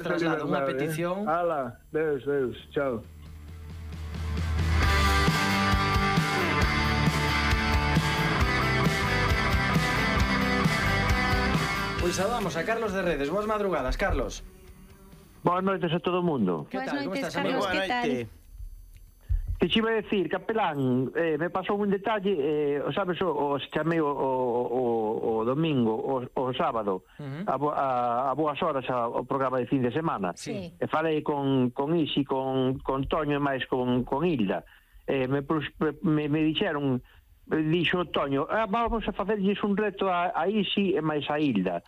Traslado unha petición. Ala, Deus, chao. Pois saudamos a Carlos de Redes. Boas madrugadas, Carlos. Boas noites a todo o mundo. Que tal? Como estás, amigo? Carlos, que tal? Que xe iba a decir, capelán, me pasou un detalle, sabes, os chamei o domingo, o sábado, a boas horas ao programa de fin de semana. Sí. E falei con Isi, con Toño e máis con Hilda. Me dixeron, dixo Toño, vamos a facerlles un reto a Isi e máis a Hilda.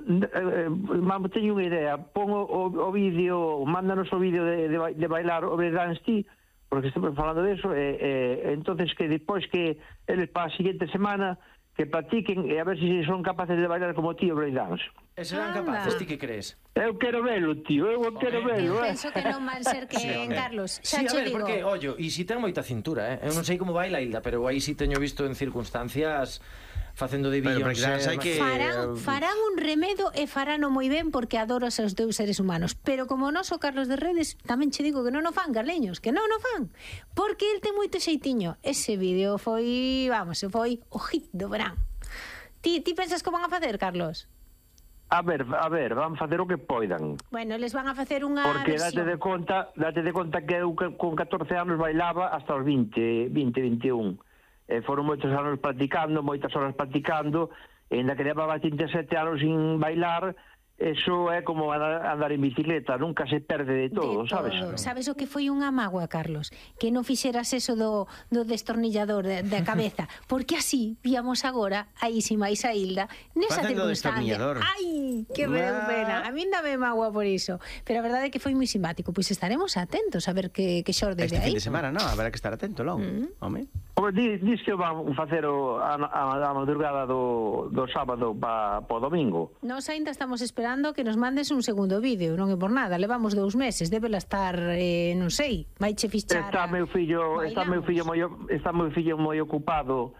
Teño unha idea, pon o vídeo, mándanos o vídeo de bailar o breakdance ti, porque estamos falando de eso, entonces que despois que eles para a siguiente semana que practiquen e a ver se son capaces de bailar como tío breakdance. E serán capaces, ti que crees? Eu quero velo, tío, quero velo. Penso que non van ser que en Carlos. Sí, Xa a che ver, digo. porque, ollo, e si ten moita cintura, Eu non sei como baila Hilda, pero aí si teño visto en circunstancias facendo de Beyoncé. Farán un remedo e farano moi ben porque adoro os seus dous seres humanos. Pero como non so Carlos de Redes, tamén che digo que non o fan, Carleños, que non o fan. Porque el ten moito xeitiño. Ese vídeo foi, foi o hit do verán. Ti pensas que van a facer, Carlos? A ver, van facer o que poidan. Bueno, eles van a facer unha porque versión. date de conta que eu con 14 anos bailaba hasta os 20, 21. Foron moitos anos practicando, moitas horas practicando, e ainda que levaba 37 anos sin bailar, eso é como andar en bicicleta, nunca se perde de todo, sabes? Sabes o que foi unha mágoa, Carlos? Que non fixeras eso do destornillador da cabeza, porque así víamos agora a Isi máis a Hilda nesa circunstancia. Ai, que pena. A mí dame mágoa por iso. Pero a verdade é que foi moi simpático. Pois estaremos atentos a ver que xorde de aí. Este fin de semana, non? Habrá que estar atento, logo. Home. Dis que van facer a madrugada do sábado para o domingo. Nos ainda estamos esperando que nos mandes un segundo vídeo, non é por nada, levamos 2 meses, débela estar, non sei, vaiche fichar. Está meu fillo moi ocupado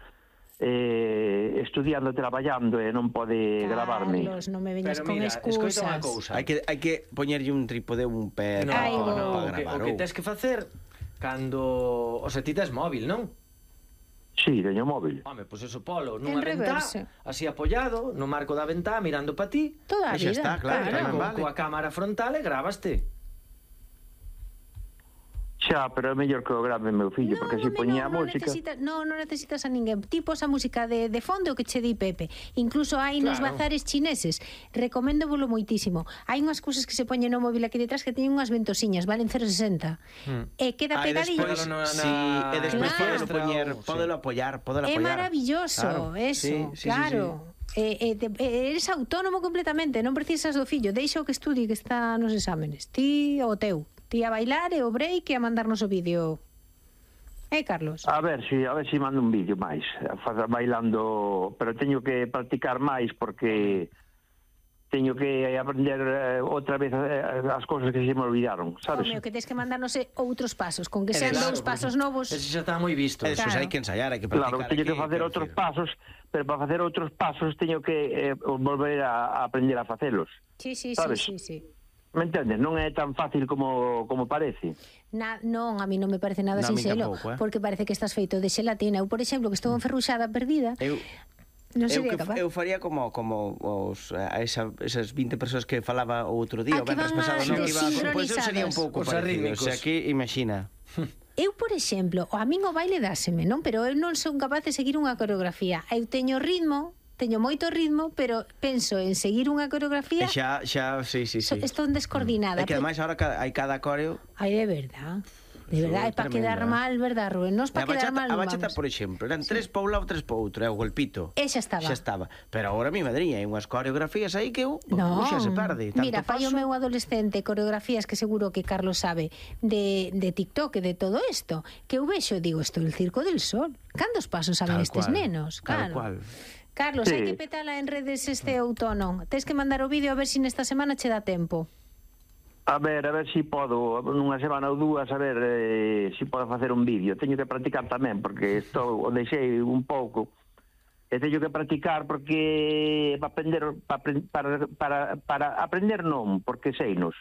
estudiando, traballando e non pode gravarme. Carlos, non me veñas con excusas. Hai que poñerlle un trípode, un pé para gravar. O que tens que facer cando... O sea, ti tes móvil, non? Sí, teño móvil. Home, pois eso, polo, nunha ventá, así apoiado, no marco da ventá, mirando pa ti. Toda a vida. Xa está, claro. Coa cámara frontal e grabaste. Xa, pero é mellor que o grave meu fillo, porque se poñía a música... Non necesitas a ninguén. Tipo esa música de fondo que che di Pepe. Incluso hai nos bazares chineses. Recomendo volo moitísimo. Hai unhas cousas que se poñen no móvil aquí detrás que teñen unhas ventosiñas, valen 0,60. E queda pegadillo. E despois podelo apoiar. É maravilloso, eso, claro. Eres autónomo completamente, non precisas do fillo. Deixa o que estudie, que está nos exámenes. Ti o teu. Ti a bailar e o break e a mandarnos o vídeo. Carlos? A ver si mando un vídeo máis bailando, pero teño que practicar máis porque teño que aprender outra vez as cousas que se me olvidaron, sabes? Que tens que mandarnos outros pasos, con que sean 2 pasos novos. Ese xa está moi visto. Eso hai que ensayar, hai que practicar. Claro, teño que facer outros pasos, pero para facer outros pasos teño que volver a aprender a facelos. Sí. Me entendes? Non é tan fácil como parece. Non, a mí non me parece nada sinxelo, porque parece que estás feito de xelatina. Eu, por exemplo, que estou enferruxada, perdida, non sería capaz. Eu faría como esas 20 persoas que falaba o outro día, o venres pasado, pois eu sería un pouco parecido. O sea, que imagina. Eu, por exemplo, a min o baile dáseme, non? Pero eu non son capaz de seguir unha coreografía. Eu teño moito ritmo, pero penso en seguir unha coreografía. Xa, sí. Estou descoordinada. É que ademais agora hai cada coreo. Ai, de verdad. De verdade, é para quedar mal, verdad, Rubén? Non é para quedar mal, a bachata, por exemplo, eran 3 para un lado, 3 para outro, o golpito. E xa estaba. Pero agora, mi madriña, hai unhas coreografías aí que xa se perde. Mira, fai o meu adolescente coreografías que seguro que Carlos sabe de TikTok e de todo isto, que eu vexo e digo, isto é el Circo del Sol. Cantos pasos saben estes nenos? Tal cual. Carlos, hai que petala en redes este outono. Tens que mandar o vídeo a ver se nesta semana che dá tempo. A ver se podo, nunha semana ou dúas, a ver se podo facer un vídeo. Teño que practicar tamén, porque o deixei un pouco. E teño que practicar porque para aprender non, porque seinos.